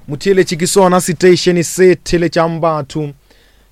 Motheeletši ke sona seteišene se theletšang batho.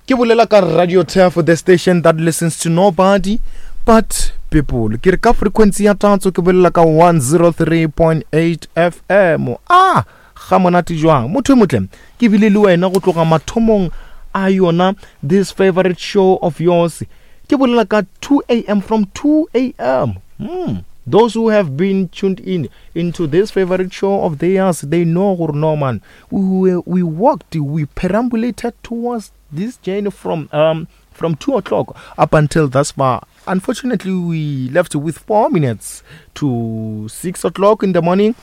Ke bolela ka Radio Turf, the station that listens to nobody but people. Ke re ka frequency ya tatso ke bolela ka 103.8 FM. Ah, ga monate jwang. Motho e motle, ke bile le wena go tloga mathomong a yona this favorite show of yours. Ke bolela ka 2 a.m. from 2 a.m. Hmm. Those who have been tuned in into this favorite show of theirs, they know gore no man, we, we walked, we perambulated towards this journey from um, from 2 o'clock up until thus far. Unfortunately, we left with 4 minutes to 6 o'clock in the morning.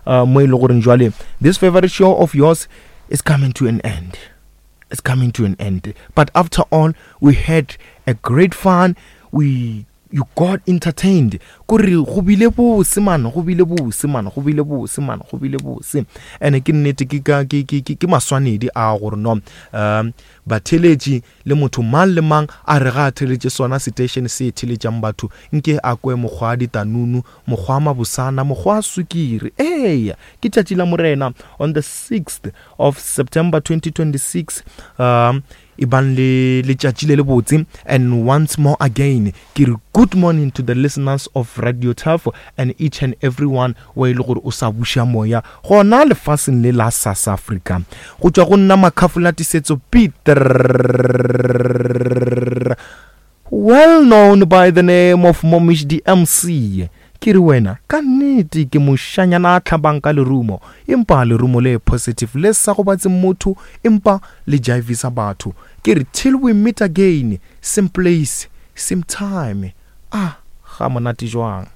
Uh, mo e le goreng jwale this favorite show of yours is coming to an end. It's coming to an end. But after all, we had a great fun. We you got entertained kore go bile bose man go bile bose man go bile bose man go bile bose ene ke nnete ke ka ke ke ke maswanedi a gore no um batheletši le motho mang le mang a re ga a theletše sona station se theletšang batho nke a kwe mokgwa ditanunu mokgwa mabosana mokgwa sukiri eya ke tšatši la morena on the 6th of September 2026 um e bang le letšatši le lebotse and once more again ke re good morning to the listeners of Radio Turf and each and everyone wa e le gore o sa buša moya gona lefaseng le la South Africa go tšwa go nna Makhafola Tisetso Peter Well known by the name of Momish the MC, ke re wena ka nnete ke moshanyana a hlabang ka lerumo, empa lerumo le positive le sa gobatseng motho empa le jaivisa batho. Ke re till we meet again, same place, same time. Ah, ga monate jwang.